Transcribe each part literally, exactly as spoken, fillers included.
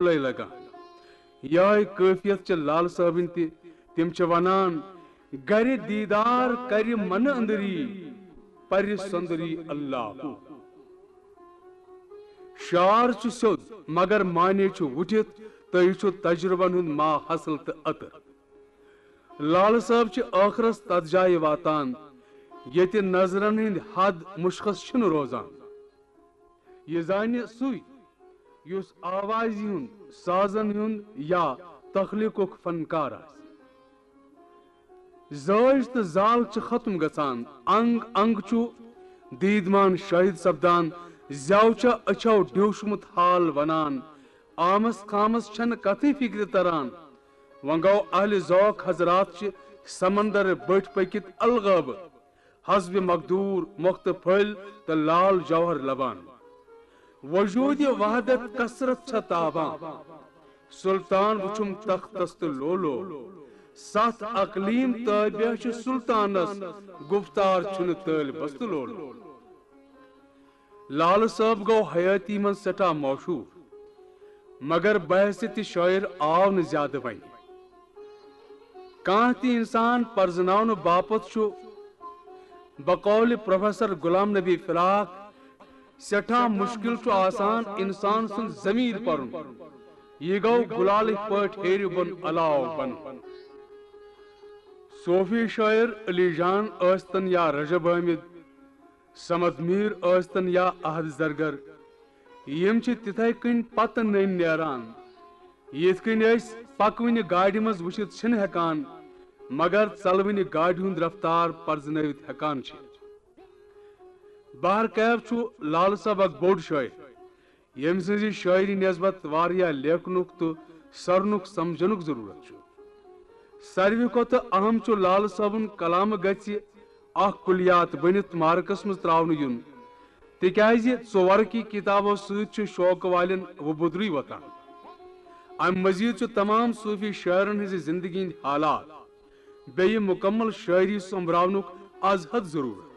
لے لگان۔ یہے کٲفیت چھِ لال صٲبٕنۍ تہِ۔ تِم چھِ ونان، گرِ دیٖدار کرِ منہٕ أنٛدری، پرِ سۄنٛدری اللہ۔ شعر چھُ سیوٚد، مگر معنی چھُ وُٹھِتھ، تہٕ یہِ چھُ تجربن ہُنٛد ما حاصل تہٕ عطر۔ لالہٕ صٲب چھِ ٲخرس تتھ جایہِ واتان، ییٚتہِ نظرن ہٕنٛدۍ حد مشخص چھِنہٕ روزان۔ یہِ زانہِ سُے، یُس آوازِ ہُنٛد، سازن ہُنٛد یا تخلیقُک فنکار آسہِ۔ زٲج تہٕ زال چھِ ختم گژھان، انگ انگ چھُ دیدمان شٲہد سپدان، زیو چھےٚ أچھو ڈیوشمُت حال ونان، آمس خامس چھنہٕ کتھٕے فکرِ تران۔ وۄنۍ گوٚو اہلِ ذوق حضرات چھِ سمندر بٔٹھۍ پٔکِتھ الغٲبہٕ، حسبِ مقدور مۄختہٕ پھٔلۍ تہٕ لال جوہر لبان۔ وجودِ وحدت کثرت چھےٚ تابان۔ سلطان وُچھُم تختس تہٕ لولو۔ ستھ اقلیم تابع چھِ سلطانس، گفتار چھُنہٕ طٲلبس تہٕ لولو۔ لالہٕ صٲب گوٚو حیٲتی منٛز سٮ۪ٹھاہ مشہوٗر، مگر بحیثیت شٲعر آو نہٕ زیادٕ وۄنۍ۔ کانٛہہ تہِ انسان پرزناونہٕ باپتھ چھُ بقول پروفیسر غلام نبی فراق سٮ۪ٹھاہ مشکل چھُ آسان انسان سُنٛد ضمیٖر پرُن۔ یہِ گوٚو گُلالٕکۍ پٲٹھۍ ہیٚرِ بۄن علاوٕ بۄن۔ صوفی شٲعر علی جان ٲسۍتن یا رجب حٲمد، صمد میٖر ٲسۍتن یا احد زرگر، یِم چھِ تِتھے کٔنۍ پتہٕ نٔنۍ نیران، یِتھ کٔنۍ أسۍ پکوٕنہِ گاڑِ منٛز وٕچھِتھ چھِنہٕ ہٮ۪کان، مگر ژلوٕنہِ گاڑِ ہُنٛد رفتار پرزنٲوِتھ ہٮ۪کان چھِ۔ بہرکیف چھُ لال صٲب اکھ بوٚڑ شٲعر، ییٚمہِ سٕنٛزِ شٲعری نسبت واریاہ لیکھنُک تہٕ سرنُک سمجھنُک ضروٗرت چھُ۔ ساروی کھۄتہٕ اہم چھُ لال صٲبُن کلامہٕ گژھِ اکھ کلیات بٔنِتھ مارکس منٛز ترٛاونہٕ یُن، تِکیازِ ژورکی کتابو سۭتۍ چھُ شوقہٕ والٮ۪ن وۄبُدرُے وۄتھان۔ امہِ مزید چھُ تمام صوفی شٲعرن ہٕنٛزِ زندگی ہٕنٛدۍ حالات بیٚیہِ مکمل شٲعری سوٚمبراونُک از حد ضروٗرت۔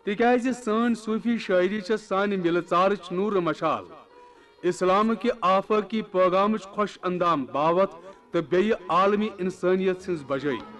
تِکیازِ سٲنۍ صوفی شٲعری چھےٚ سانہِ مِلہٕ ژارٕچ نوٗرٕ مشال، اسلام کہِ آفٲقی پٲغامٕچ خۄش اندام باوتھ تہٕ بیٚیہِ عالمی انسٲنیت سٕنٛز بجٲے۔